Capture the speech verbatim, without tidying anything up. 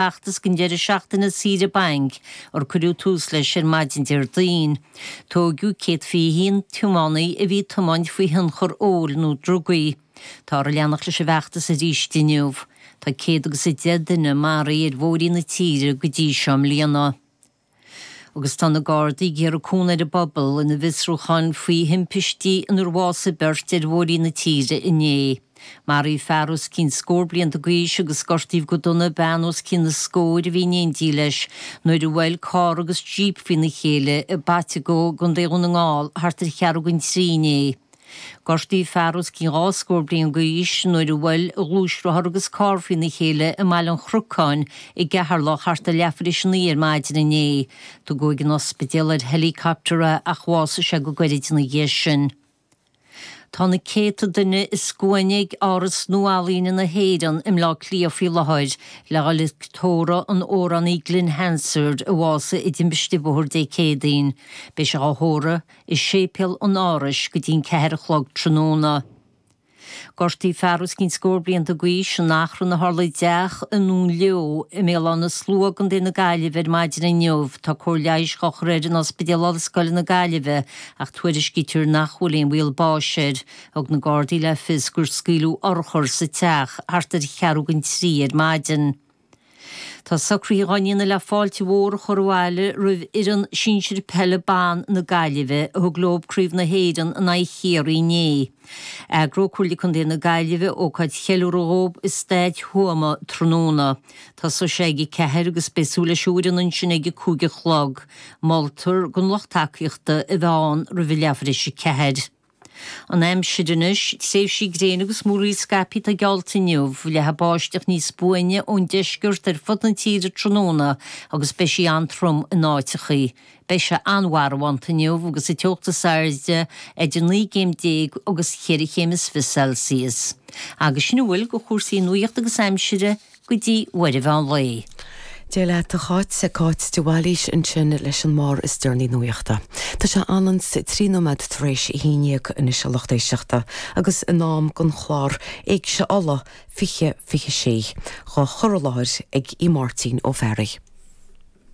bhfeachtas don deireadh seachtaine saoire bainc ar cuireadh tús leis ar maidin Déardaoin. Tóigeadh céad fiche haon tiománaí a bhí ag tiomáint faoi thionchar óil nó drugaí. Táthar ag leanacht leis an bhfeachtas arís inniu. Tá céad agus a deich duine maraithe ar bhóithrí na tíre go dtí seo i mbliana. Agus tá na Gardaí ag iarraidh cúnamh ar an bpobal ina bhfiosrúchán faoi thimpistí inar bhásaigh beirt ar bhóithrí na tíre inné. Maraíodh fear os cionn scór blianta d'aois agus gortaíodh go dona bean os cionn na scóir a bhí in éindí leis nuair a bhuail carr agus jíp faoina chéile i bPaiteagó i gContae Dhún na nGall thart ar cheathrú don trí inné. Gortaíodh fear os cionn dhá scór bliain d'aois nuair a bhuail a ghluaisrothar agus carr faoina chéile i mBaile an Chnocáin i gCeatharlach thart ar leathuair tar éis a naoi ar maidin inné. Tugadh ag an ospidéal ar helicopter é ach bhásaigh sé go gairid ina dhiaidh sin. Tá na céadta duine i scuaine ag Áras Nua-Ealaíne na hÉireann i mBleá Cliath faoi láthair le dhul ag tórramh an amhránaí Glen Hansard a bhásaigh i dtimpiste bóthair Dé Céadaoin. Beidh sé á thórramh i séipéal an Árais go dtí an ceathair a chlog tráthnóna. Gortaíodh fear os cionn scór blianta d'aois in achrann a tharla i dteach i nDún Leo i mBéal Átha na Slua i gContae na Gaillimhe ar maidin inniu. Tá cóir leighis á chur air in Ospidéal Ollscoile na Gaillimhe ach tuairiscítear nach bhfuil aon bhaol báis air. Thug na Gardaí le fios gur scaoileadh urchar sa teach thart ar cheathrú don trí ar maidin. Tá socruithe á ndéanamh le fáilte mhór a chur abhaile roimh fhoireann sinsir peile ban na Gaillimhe a thug leo Craobh na hÉireann in aghaidh Chiarraí inné. Eagróidh Comhairle Contae na Gaillimhe ócáid cheiliúradh dhóibh i Staid Thuama tráthnóna. Tosóidh sé ag a ceathair agus beidh súil leis an bhfoireann ansin ag a cúig a chlog. Moltar don lucht tacaíochta a bheith ann roimh a leathuair tar éis a ceathair. An aimsir anois, tréimhsí gréine agus múraíl scaipthe atá geallta inniu, leathfaidh báisteach níos buaine ón deisceart ar fud na tíre tráthnóna agus beidh sí an-trom in áiteachaí. Beidh sé an-mharbhánta inniu agus an teocht is airde idir naoi gcéim déag agus cheithre chéim is fiche Celsius. Agus sin a bhfuil de chúrsaí nuachta agus aimsire go dtí uair an mheán lae. Dia leat a Cháit, Cáit de Bhailís ansin leis an mbarr is deireanaí nuachta. Tá sé anonn trí nóiméad tar éis a haon déag anois a lucht éisteachta agus in am don chlár Éigse Uladh fiche fiche sé, á chur i láthair ag í Máirtín Ó Fearraigh.